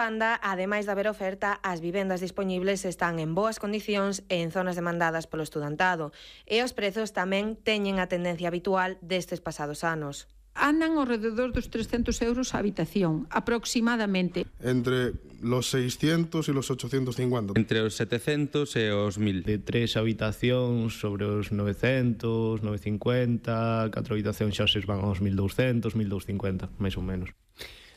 Banda, ademais de haber oferta, as vivendas dispoñibles están en boas condicións e en zonas demandadas polo estudantado, e os prezos tamén teñen a tendencia habitual destes pasados anos. Andan ao rededor dos 300 euros a habitación, aproximadamente. Entre los 600 e los 850. Entre os 700 e os 1000. De 3 habitacións sobre os 900, 950, 4 habitacións xa se van aos 1200, 1250, máis ou menos.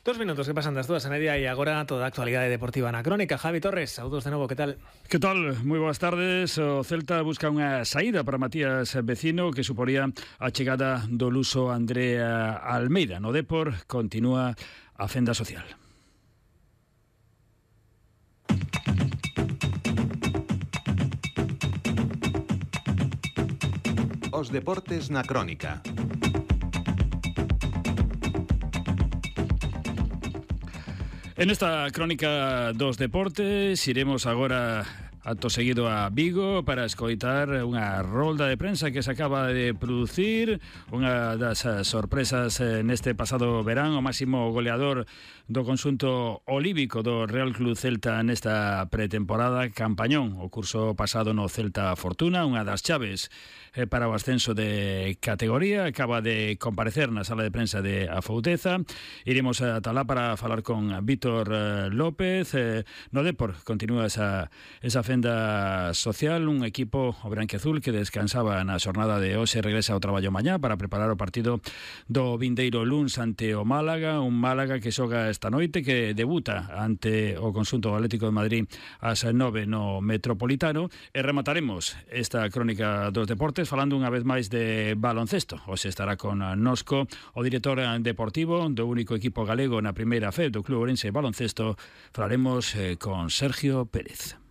2 minutos que pasan das 2:30 e agora toda a actualidade deportiva na crónica. Javi Torres, saúdos de novo, que tal? Que tal? Moi boas tardes. O Celta busca unha saída para Matías Vecino que suporía a chegada do luso Andrea Almeida. No Depor continúa a fenda social. Os deportes na crónica. En esta crónica dos deportes iremos agora acto seguido a Vigo para escoitar unha rolda de prensa que se acaba de producir, unha das sorpresas neste pasado verán, o máximo goleador do conxunto olívico do Real Club Celta nesta pretemporada, campañón o curso pasado no Celta Fortuna, unha das chaves para o ascenso de categoría. Acaba de comparecer na sala de prensa de Afouteza. Iremos a Talá para falar con Víctor López. No Depor continúa esa fenda social. Un equipo o branquiazul que descansaba na xornada de hoxe regresa ao traballo mañá para preparar o partido do vindeiro luns ante o Málaga. Un Málaga que xoga esta noite, que debuta ante o conxunto Atlético de Madrid ás 9 no Metropolitano. E remataremos esta crónica dos deportes falando unha vez máis de baloncesto. Hoxe estará con Nosco o director deportivo do único equipo galego na primeira fe do Club Ourense Baloncesto. Falaremos con Sergio Pérez.